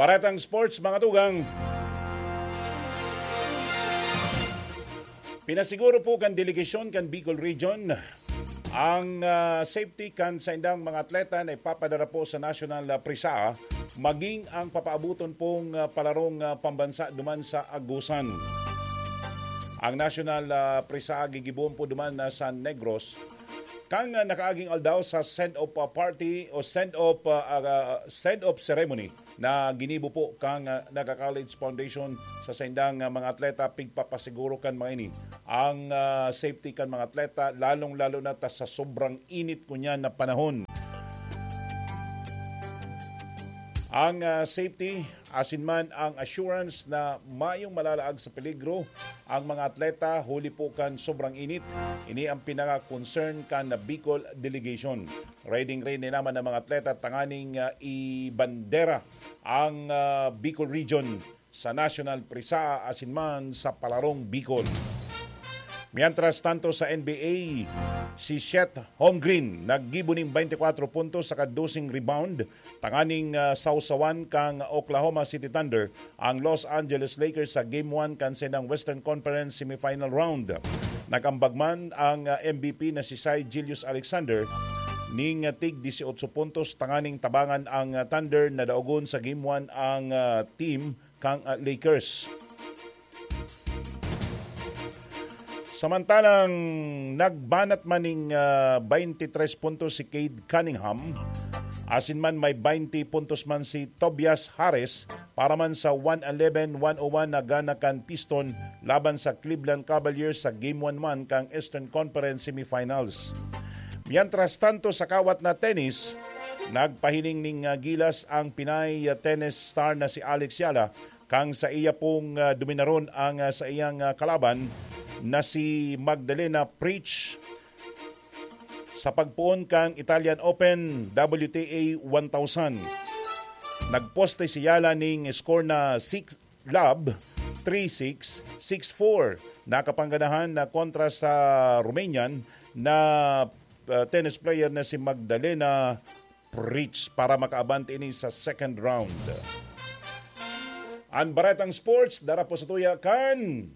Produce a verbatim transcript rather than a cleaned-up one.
Paratang sports, mga tugang. Pinasiguro po kan delegasyon kan Bicol Region ang, ah, safety kan saindang mga atleta na ipapadara po sa National, ah, Prisa, maging ang papaabuton pong, ah, palarong, ah, pambansa duman sa Agusan. Ang National, ah, Prisa gigibohon po duman, ah, sa Negros. Kan, ah, nakaaging aldaw sa send-off, ah, party o send-off, ah, ah, send-off ceremony na ginibo po kan, ah, Naga College Foundation sa saindang, ah, mga atleta, pigpapasiguro kan mga ini ang, ah, safety kan mga atleta, lalong-lalo na ta sa sobrang init ngunyan na panahon. Ang, ah, safety, asin man ang assurance na mayong malalaag sa peligro ang mga atleta huli po kan sobrang init. Ini ang pinaka-concern kan Bicol Delegation. Ready-ready naman ang mga atleta tanganing, ah, ibandera ang, ah, Bicol Region sa National Prisa asin man sa Palarong Bicol. Mientras tanto sa N B A, si Chet Holmgren naggibo nin twenty-four puntos saka doseng rebound tanganing, ah, sawsawan kan Oklahoma City Thunder ang Los Angeles Lakers sa Game one kan saindang Western Conference semifinal round. Nag-ambag man ang, ah, M V P na si Shai Gilgeous-Alexander ning, ah, tig dieciocho puntos tanganing tabangan ang, ah, Thunder na daogon sa Game one ang, ah, team kan, ah, Lakers. Samantalang nagbanat man ning, ah, twenty-three puntos si Cade Cunningham, asin man may twenty puntos man si Tobias Harris para man sa one eleven one oh one na gana kan Piston laban sa Cleveland Cavaliers sa Game one man kan Eastern Conference Semifinals. Mientras tanto, sa kawat na tennis, nagpahiling ning, ah, gilas ang Pinay, ah, tennis star na si Alex Yala, kan saiya pong, ah, dominaron ang, ah, saiyang, ah, kalaban na si Magdalena Preach sa pagpoon kan Italian Open W T A one thousand. Nagposte si Yala ning score na six love, three six, six four. Nakapangganahan na kontra sa Romanian na, ah, tennis player na si Magdalena Preach para makaabante ini sa second round. Ang Baretang Sports, dara po sa tuya kan